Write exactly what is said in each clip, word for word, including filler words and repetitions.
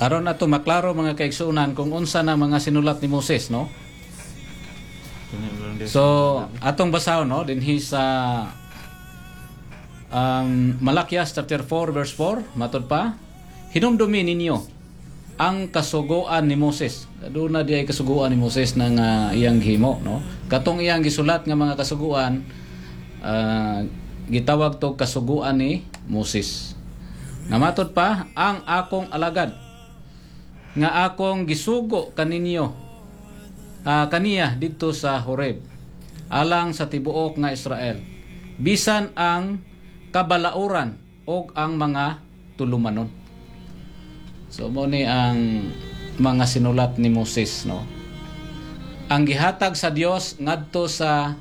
Aron ato maklaro, mga kaigsuonan, kung unsa na mga sinulat ni Moses, no? So atong basahon, no, dinhi sa um, Malakias chapter four verse four, matod pa, "Hinumdumi ninyo ang kasuguan ni Moses." Aduna diay kasuguan ni Moses na nga iyang gihimo, no? Katong iyang gisulat nga mga kasuguan, ah, gitawag to kasuguan ni Moses. Nga matod pa, "Ang akong alagad nga akong gisugo kaninyo ah, kaniya didto sa Horeb alang sa tibuok nga Israel, bisan ang kabalauran og ang mga tulumanon." So mo ni ang mga sinulat ni Moses, no? Ang gihatag sa Dios ngadto sa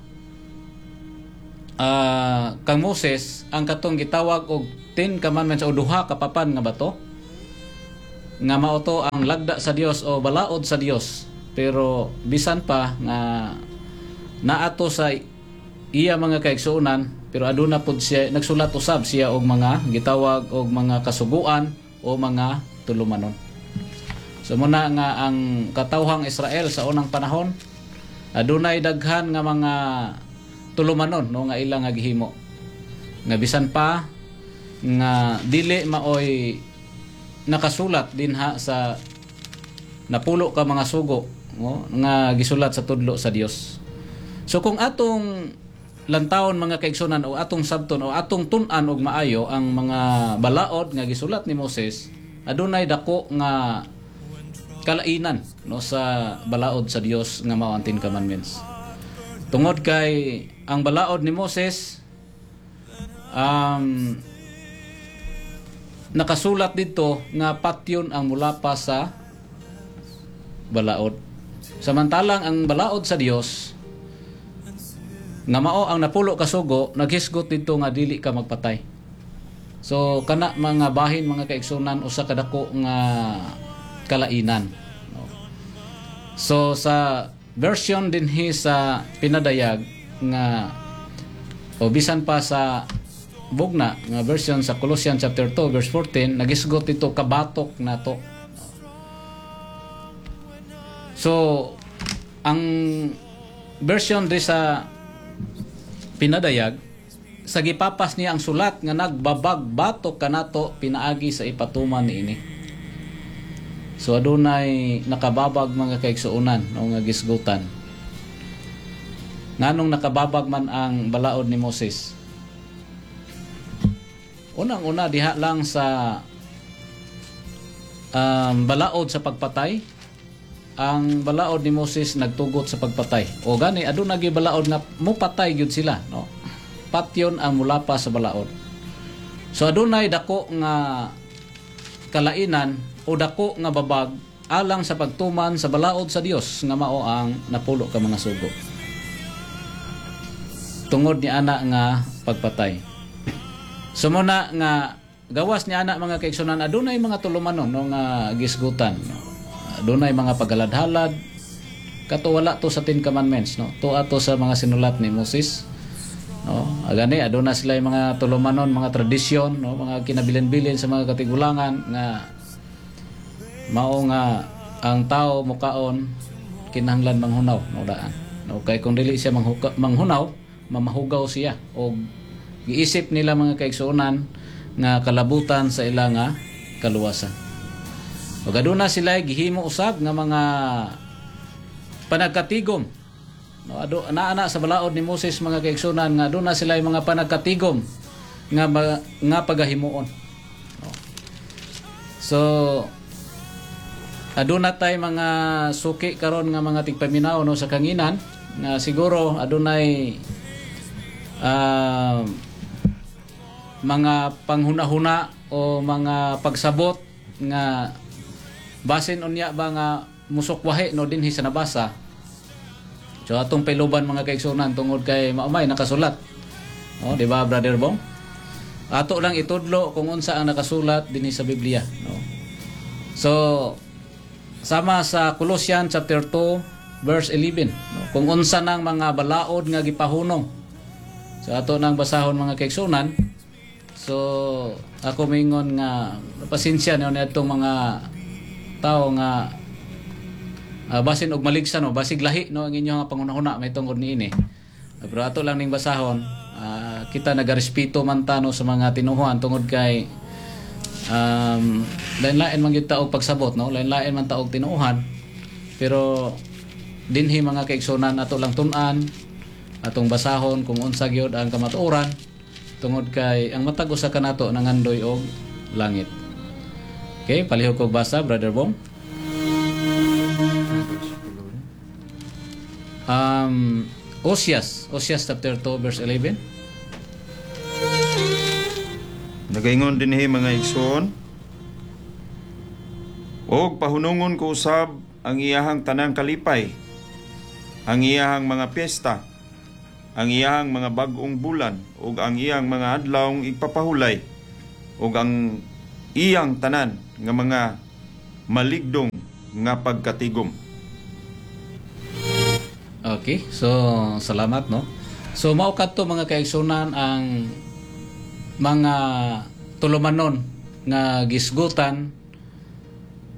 ah, kang Moses ang katong gitawag og Ten Commandments o duha ka papan nga bato nga mao to ang lagda sa Dios o balaod sa Dios. Pero bisan pa nga naato sa iya, mga kaigsuonan, pero aduna pud siya nagsulat usab siya og mga gitawag og mga kasuguan o mga tulumanon. So muna nga ang katawhang Israel sa unang panahon adunay daghan nga mga tulumanon, no, nga ilang nga gihimo nga bisan pa nga dili maoy nakasulat dinha sa napulo ka mga sugo, no, nga gisulat sa tudlo sa Dios. So kung atong lantawon, mga kaigsunan, o atong sabton o atong tun-an og maayo ang mga balaod nga gisulat ni Moses, adunay dako nga kalainan, no, sa balaod sa Dios nga mao ang Ten Commandments. Tungod kay ang balaod ni Moses um, nakasulat dito nga patyon ang mulapas sa balaod. Samantalang ang balaod sa Dios nga mao ang napulo ka sugo, naghisgot dito nga dili ka magpatay. So kana mga bahin, mga kaigsunan, usa ka dako nga kalainan. No? So sa version dinhi sa pinadayag nga o bisan pa sa bugna nga version sa Colossians chapter two verse fourteen, nagisgot ito kabatok nato. So ang version di sa pinadayag, sa gipapas niya ang sulat nga nagbabag batok kanato pinaagi sa ipatuman niini. So adunay nakababag, mga kaigsuonan, no, nga gisgutan. Nganong nakababag man ang balaod ni Moses? Unang-una, diha lang sa um, balaod sa pagpatay, ang balaod ni Moses nagtugot sa pagpatay. O gani aduna gyud balaod nga mupatay gyud sila, no? Patyon ang mulapas sa balaod. So adunay dako nga kalainan o dako nga babag alang sa pagtuman sa balaod sa Dios nga mao ang napulo ka mga sugo. Tungod ni ana nga pagpatay. So muna nga gawas ni ana, mga kaigsunan, adunay mga tulumanon, no, nga gisgutan. No? Adunay mga paghalad-halad kato wala to sa Ten Commandments, no? To ato sa mga sinulat ni Moses, no? Agani aduna sila yung mga tulumanon, mga tradisyon, no, mga kinabilin-bilin sa mga katigulangan nga mao nga ang tao mukaon kinahanglan manghunaw, no, daan, no? Kay kung dili siya manghuka, manghunaw, mamahugaw siya og giisip nila, mga kaigsuonan, nga kalabutan sa ila nga kaluwasan. Ug aduna sila gihimo usab nga mga panagkatigom. No, ado naa na sa balaod ni Moses, mga kaigsunan, nga aduna sila mga panagkatigom nga ma- nga pagahimuon. No. So aduna tay mga suki karon nga mga tigpaminaw, no, sa kanginan nga siguro adunay ah, mga panghuna-huna o mga pagsabot nga basin unya ba nga musukwahi, no, dinhi sa nabasa. So atong pailuban, mga kaigsunan, tungod kay maumay nakasulat. No, di ba, Brother Bong? Ato lang itudlo kung unsa ang nakasulat dinhi sa Biblia, no? So sama sa Colossians chapter two verse eleven, no? Kung unsa nang mga balaod nga gipahunong. So ato nang basahon, mga kaigsunan. So ako mingon nga pasensya niyo niadtong mga tao nga uh, basin og maligsa, no, basig lahi, no, ang inyong nga panghunahuna may tungod niini. Pero ato lang ning basahon. Ah, kita nagarespeto man ta, no, sa mga tinuhuan tungod kay um, lain-lain man gyud ta og pagsabot, no, lain-lain man ta og tinuohan. Pero dinhi, mga kaigsunan, ato lang tun-an, atong basahon kung unsa gyud ang kamatuoran tungod kay ang matag usa kanato nangandoy og langit. Okay, palihog kog basa, Brother Bong. Um, Osias, Osias chapter two verse eleven. Nagaingon dinhi, mga igsoon, "Og pahunungon ko usab ang iyahang tanang kalipay, ang iyahang mga piyesta, ang iyahang mga bag-ong bulan, ug ang iyang mga adlawng igpapahulay, ug ang iyang tanan nga mga maligdong nga pagkatigom." Okay, so salamat, no. So mao kadto, mga kaigsunan, ang mga tulumanon nga gisgutan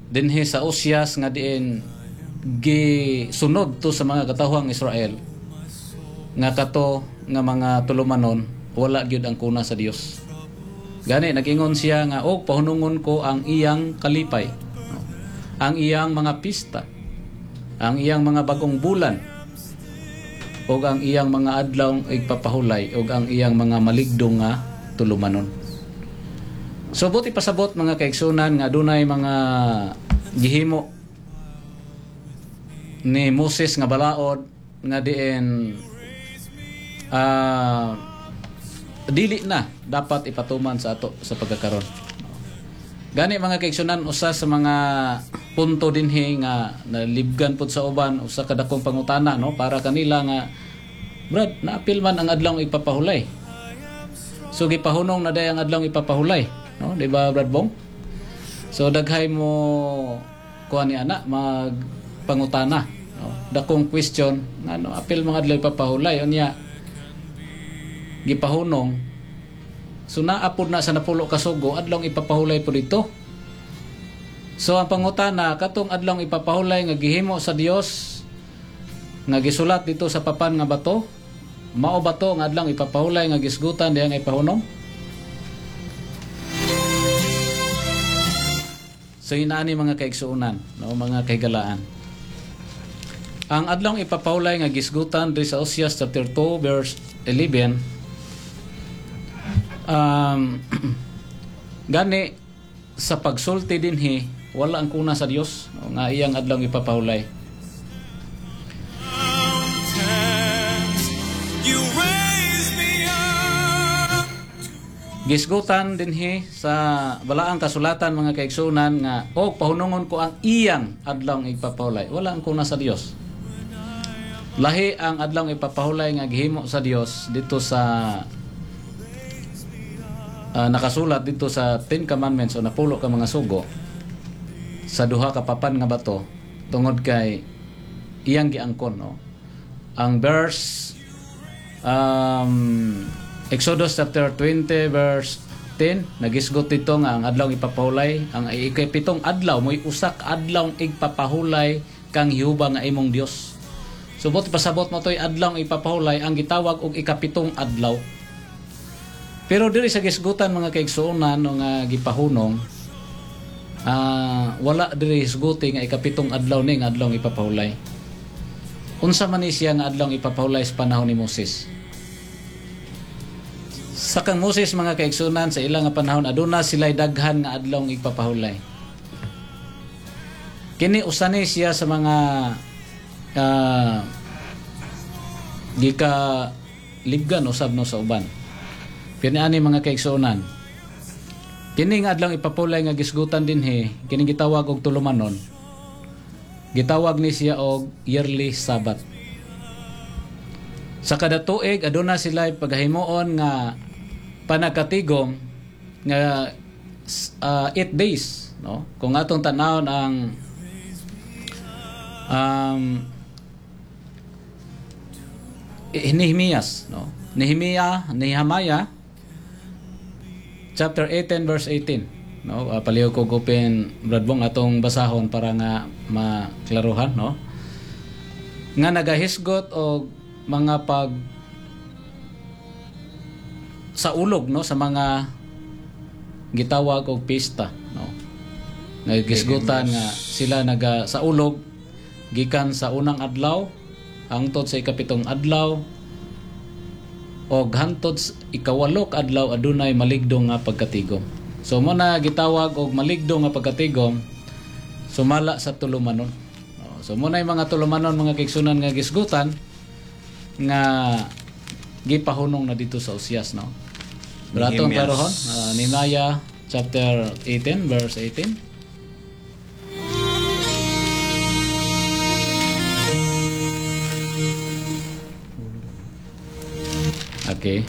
dinhi sa Osias nga diin gisunod to sa mga katawhang Israel nga kato nga mga tulumanon wala gyud ang kuna sa Dios. Gani nag-ingon siya nga og pahunungon ko ang iyang kalipay, no? Ang iyang mga pista, ang iyang mga bagong bulan, ug ang iyang mga adlaw igpapahulay, ug ang iyang mga maligdong nga tulumanon. So buot ipasabot, mga kaigsunan, nga dunay mga gihimo ni Moses nga balaod nga diin ah, dili na dapat ipatuman sa ato sa pagkakaron. Gani, mga kaigsunan, usa sa mga punto dinhi nga nalibgan pud sa uban, usa ka dakong pangutana, no, para kanila nga, "Brad, naapil man ang adlaw ipapahulay. So gipahunong na day ang adlaw ipapahulay," no? Di ba, Brad Bong? So daghay mo kuan ni ana magpangutana, no? Dakong question ngano apil mga adlaw ipapahulay unya gipahunong. So naapod na sa napulo ka sugo, adlaw ipapahulay po dito. So ang pangutana, katong adlaw ipapahulay nga gihimo sa Dios nga gisulat dito sa papan nga bato, mao ba to nga adlaw ipapahulay nga gisgutan diha nga ipahunong? So inaani, mga kaigsuonan, no, mga kahigalaan. Ang adlaw ipapahulay nga gisgutan diri sa Osias chapter two verse eleven, um, gani sa pagsulti dinhi wala ang kuna sa Dios, no, nga iyang adlaw ipapahulay. You raise me up. Gisgutan dinhi sa balaang kasulatan, mga kaigsunan, nga og pahunungon ko ang iyang adlaw ipapahulay. Wala ang kuna sa Dios. Lahi ang adlaw ipapahulay nga gihimo sa Dios dito sa ah, nakasulat dito sa Ten Commandments o napulo ka mga sugo sa duha ka papan nga bato tungod kay iyang giangkon, no. Ang verse um, Exodus chapter twenty verse ten, nagisgot dito nga ang adlaw ipapahulay, ang ikapitong adlaw mo'y usa ka adlaw igpapahulay kang Jehova nga imong Dios. So buot pasabot mo to'y adlaw ipapahulay ang gitawag og ikapitong adlaw. Pero diri sa gisgutan, mga kaigsuonan, no, nga gipahunong, ah, wala diri hisguti nga ikapitong adlaw ni nga adlaw ipapahulay. Unsa man ni siya nga adlaw ipapahulay sa panahon ni Moses? Sa kang Moses, mga kaigsunan, sa ilang nga panahon aduna sila'y daghan nga adlaw ipapahulay. Kini usa ni siya sa mga ah, gika libgan usab, no, sa uban. Kini ani, mga kaigsuonan. Kini nga adlaw ipapahulay nga gisgutan dinhi, kini gitawag og tulumanon. Gitawag ni siya og yearly Sabbath. Sa kada tuig aduna sila pagahimuon nga panagkatigom nga eight days, no? Kung atong tan-awon ang um, Nehemias, no? Nehemia, Nehemiah chapter eighteen verse eighteen. no? Uh, palihog ko open, Brad Bong, atong basahon para nga maklaruhan, no? Nga nagahisgot og mga pag sa ulog, no, sa mga gitawag og pista, no? Nagisgutan nga sila naga sa ulog gikan sa unang adlaw hangtod sa ikapitong adlaw og hangtod sa ikawalo ka adlaw adunay maligdo nga pagkatigom. So mo na gitawag og maligdo nga pagkatigom sumala sa tulumanon. Oh, so mo na yung mga tulumanon, mga kaigsuonan, nga gisgutan nga gipahunong na dito sa Osias, no? Pero atong Nehemias. klarohon, uh, Nehemiah chapter eighteen verse eighteen. Okay.